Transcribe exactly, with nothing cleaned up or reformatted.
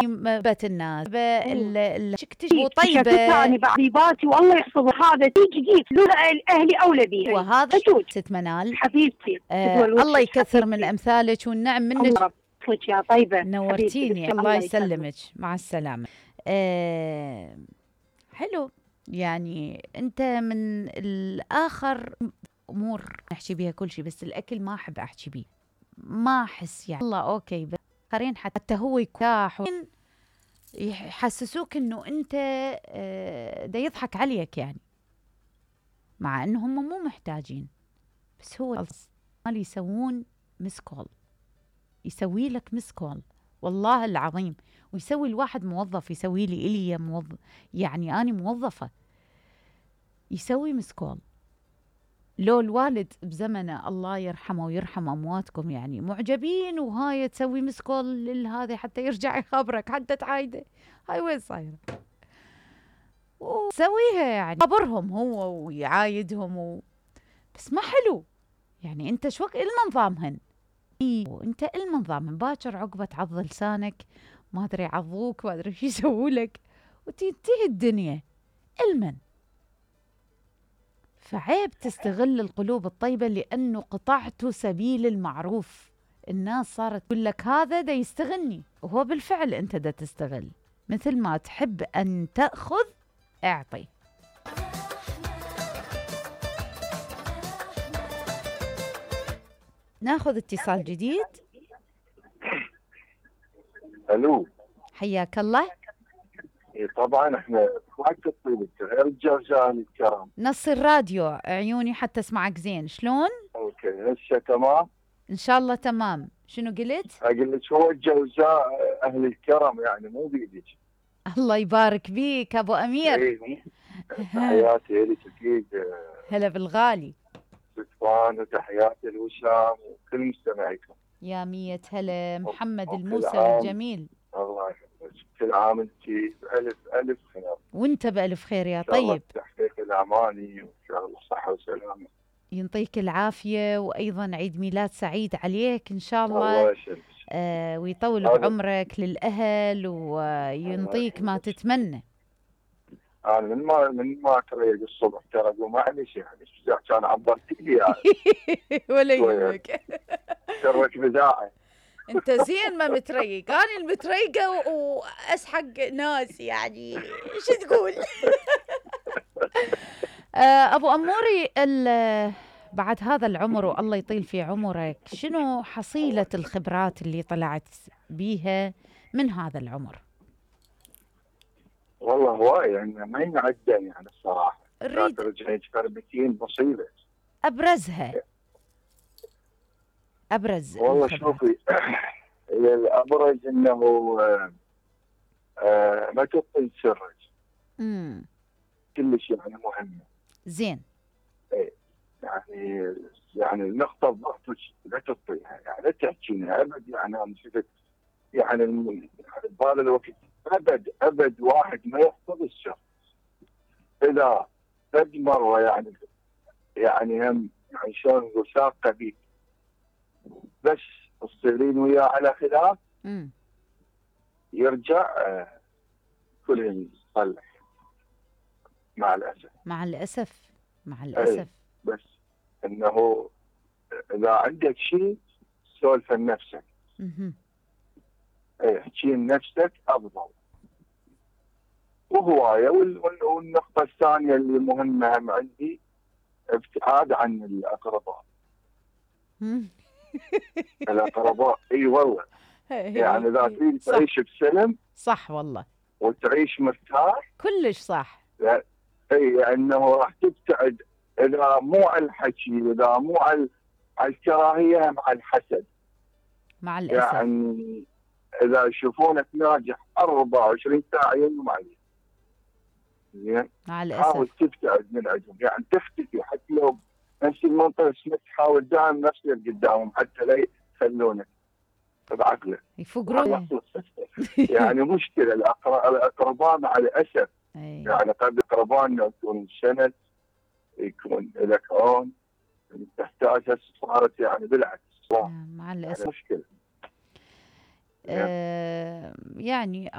بت الناس شكتش طيبة أنا بعذيباتي والله يحفظ هذا تيجي لولا أهلي أولى بي وهذا ست منال حبيبتي آه الله يكثر من أمثالك والنعم منك يا طيبة نورتيني. الله يسلمك. مع السلامة. آه حلو. يعني أنت من الآخر أمور نحكي بيها كل شيء، بس الأكل ما أحب أحكي بيه، ما أحس يعني الله أوكي، بس آخرين حتى هو يكاح يحسسوك إنه أنت آه دا يضحك عليك يعني، مع إنه هم مو محتاجين، بس هو اللي يسوون مسكول، يسوي لك مسكول والله العظيم، ويسوي الواحد موظف، يسوي لي إلي موظف، يعني أنا موظفة، يسوي مسكول. لو الوالد بزمنه الله يرحمه ويرحم أمواتكم يعني معجبين وهاي تسوي مسكول للهذا حتى يرجع يخبرك حتى تعايده هاي وين صايرة، وسويها يعني خبرهم هو ويعايدهم و... بس ما حلو يعني. انت شو إلما نظامهن، انت إلما نظامهن، باكر عقبة تعض لسانك ما ادري يعضوك ما ادري شو يسووا لك وتنتهي الدنيا إلمن. فعيب تستغل القلوب الطيبة لأنه قطعت سبيل المعروف. الناس صارت تقول لك هذا دا يستغلني، وهو بالفعل أنت دا تستغل. مثل ما تحب أن تأخذ اعطي. ناخذ اتصال جديد. الو حياك الله. طبعا احنا وقت الطيب غير الجرجان الكرام. نص الراديو عيوني حتى اسمعك زين. شلون؟ اوكي هسه تمام ان شاء الله تمام. شنو قلت؟ اقول لك هو الجوزاء اهل الكرم يعني مو بيدك. الله يبارك بيك ابو امير. ايه تحياتي لك اكيد. هلا بالغالي. سلطان وتحياتي لوسام وكل مستمعيكم. يا مية هلا. محمد الموسى الجميل. الله يحفظك. كل عام انت بألف ألف خير. وانت بألف خير يا طيب. تحقيق الأماني وإن شاء الله صحة وسلامة. ينطيك العافية، وأيضا عيد ميلاد سعيد عليك إن شاء الله. الله يسلمك. آه ويطول بعمرك للأهل وينطيك ما تتمنى. أنا من ما من ما تريق الصبح ترى معلش يعني كان عبرت لي يعني. ولا يهمك. تروك بداعي. انت زين ما متريق، انا المتريقه واسحق ناس يعني شو تقول. ابو اموري بعد هذا العمر والله يطيل في عمرك، شنو حصيله الخبرات اللي طلعت بيها من هذا العمر؟ والله هواي يعني ما ينعدى يعني الصراحه. اريد ترجعين تربتين بصيله. ابرزها ابرز والله شوفي الابرز انه آه آه ما تبطل سرك. امم كلش يعني مهمه. زين. ايه يعني يعني النقطه الضغط لا تبطيها يعني لا تحكينها ابد. يعني انا شفت يعني بهذا الوقت ابد ابد واحد ما يحفظ السر اذا قد مره يعني يعني هم يعني شلون نقول ساقه بيك بس تصيرين وياه على خلاف امم يرجع آه كله يصلح مع الاسف. مع الاسف مع الاسف. ايه بس انه اذا عندك شيء سولف لنفسك. اها ايه احكي لنفسك افضل. وهوايه والنقطه الثانيه اللي مهمه هم عندي ابتعاد عن الاقرباء. الاقرباء اي والله يعني اذا تريد تعيش بسلم صح والله وتعيش مرتاح كلش صح. اي انه راح تبتعد اذا مو على الحكي اذا مو على الكراهيه مع الحسد. مع الاسف يعني اذا يشوفونك ناجح أربعة وعشرين ساعه يوم عليك زين مع الاسف حاول تبتعد من عندهم يعني تختفي حتى لو نفس المنطقه اسمك حاول دائما نفسك قدامهم حتى لا يخلونك بعقلك يفقرون. يعني مشكله الاقرباء مع الاسف. أي. يعني قد اقربائنا يكون سند يكون لك عون تحتاجها صارت يعني بالعكس مع الاسف يعني مشكله. آه يعني